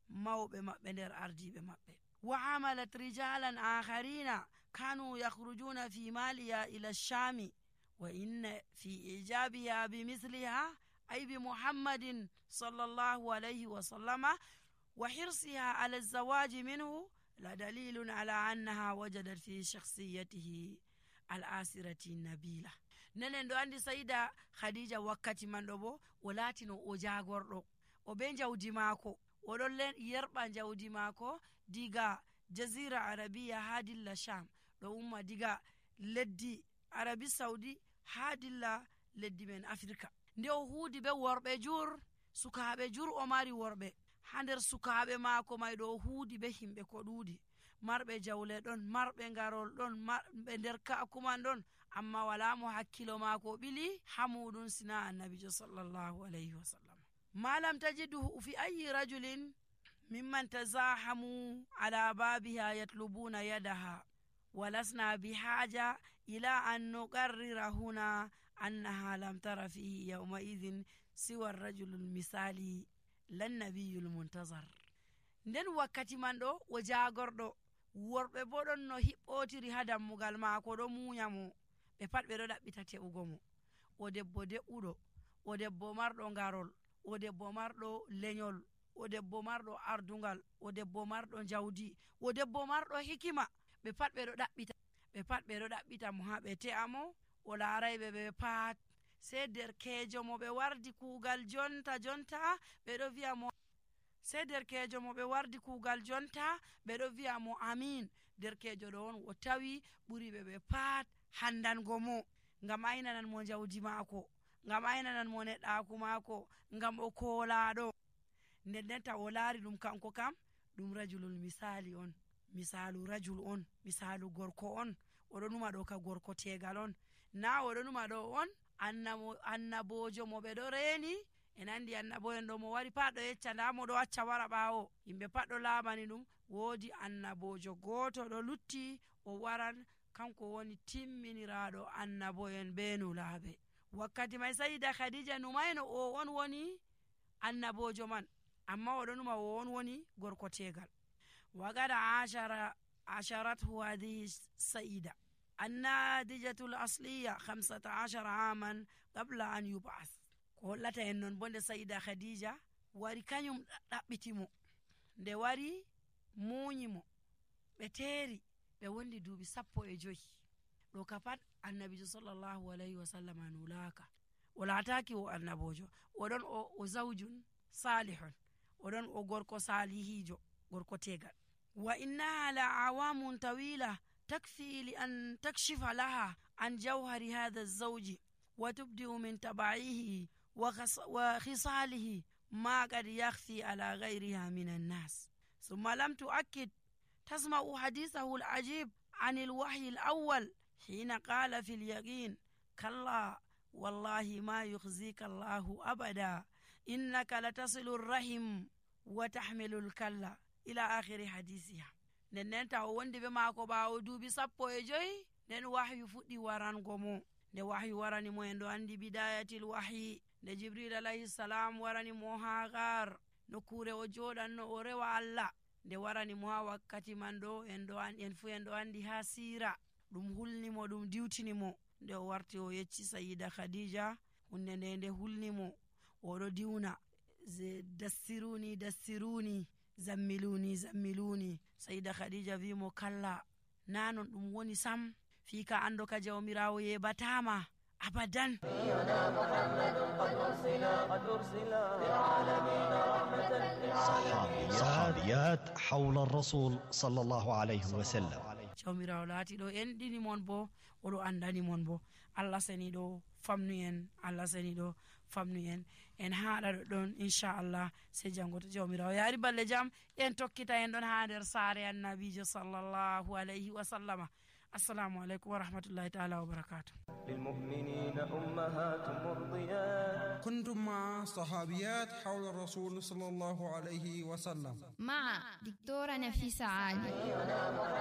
mawɓe maɓɓe nder ardiɓe maɓɓe. wa amalat rijalan akharina kanu yakhrujuna fi maliya ila ash-shami wa inna fi ijabiha bimithliha ay bi muhammadin sallallahu alayhi wa sallama wa hirsiha ala az-zawaji minhu la dalilun ala annaha wajadat fi shakhsiyatihi al-asirati nabila. Nenen do andi sayida khadija wakkati man do bo o latino o jagordo o be jawdi maako o don yerba jawdi maako diga jazira arabiya hadilla sham do umma diga leddi arabi saudi hadilla leddi men afrika. Nde o huudi be worbe jur sukaabe jur o mari worbe hander sukaabe maako may do huudi be himbe ko duudi marbe jawle don marbe ngarol don marbe nder kaakuman don amma wala mo hakkilo maako bili hamudun sina annabi sallallahu alayhi wasallam. ma lam tajiduhu fi ayi rajulin mimman tazahamu ala babiha yatlubuna yadaha walasna bihaja ila an nuqarrira huna annaha lam tara fihi yawma idhin siwa ar-rajul al-misali lan nabiyul muntazar. Nden wakkati man do o jagordo worbe bo don no hibbotiri ha dammugal maako do munyamo be pat be do dabbita teugo mo o debbo deudo o debbo mardo ngarol o debbo mardo lenyol o debbo mardo ardungal o debbo mardo jawdi o debbo mardo hikima be pat be do dabbita mo ha be te'amo o laaraybe be pat se derkejo mo be wardi kugal jonta be do wi'a mo se derkejo mo be wardi kugal jonta be do wi'a mo amin. Derkejo do on o tawi buri be pat handango mo ngam aynanan mo jawdi maako ngam aynanan mo nedaaku maako ngam o koolaado. Nden ta o laari dum kanko kam dum rajulul misali on, misalu rajul on, misalu gorko on. Odo numa do ka gorko tegal on na odo numa do on annabojo mo be do reeni en andi annaboyen do mo wari pat do yecca nda mo do acca wara baawo yimbe pat do laabani dum. Woodi annabojo goto do lutti o waran kanko woni timminiraado annaboyen be nulaabe. Wakkati may sayida khadija numayno o on woni annabojo man amma odo numa o on woni gorko tegal. wagada asharathu hadhihi sayida annadijatul asliya 15 aman qabla an yub'ath. ko lata en non bonde sayida khadija wari kanyum dabbitimo nde wari munyimo be teeri be wondi duubi 15 do kapat annabi sallallahu alayhi wasallam anulaka wala taki o annabojo odon o zawjun salihun odon o gorko salihijo gorko tegal. wa inna la awamun tawila takfi li an takshifa laha an jawhari hadha az-zawj wa tubdi min taba'ihi wa khisalihi ma qad yakhfi ala ghayriha min an-nas thumma lam tu'akkid tasma'u hadithahu al-ajib an al-wahyi al-awwal hina qala fi al-yaqin kalla wallahi ma yukhzika Allahu abada innaka latasilu ar-rahim wa tahmilu al-kalla ila akhiri hadithiha. Nen ta o wondi be maako baawo duubi 15 nen wahyu fuddi warango mo. Nde wahyu warani mo en do andi bidayatil wahyi nde jibril alayhi salam warani mo ha gar nokure o jodanno o rewa Allah nde warani mo ha wakkati man do en fu en do andi ha sira dum hulni mo dum diwtini mo nde o warti o yecci sayida khadija hunde nde hulni mo o do diwna dassiruni zammiluni sayida khadija wi mo kalla nanon dum woni sam fika ando ka jawmirawo yebatama abadan. صحابيات حول الرسول صلى الله عليه وسلم. jawmirawo laati do en dini mon bo o do andani mon bo Allah seni do famnu en en haada don inshallah se jangoto jawmirawo yaari balle jam en tokkita en don ha der saare annabijo sallallahu alayhi wa sallama. assalamu alaikum wa rahmatullahi ta'ala wa barakatuh. للمؤمنين أمهات مرضيات. كنتم مع صحابيات حول الرسول صلى الله عليه وسلم مع دكتورة نفيسة عالي.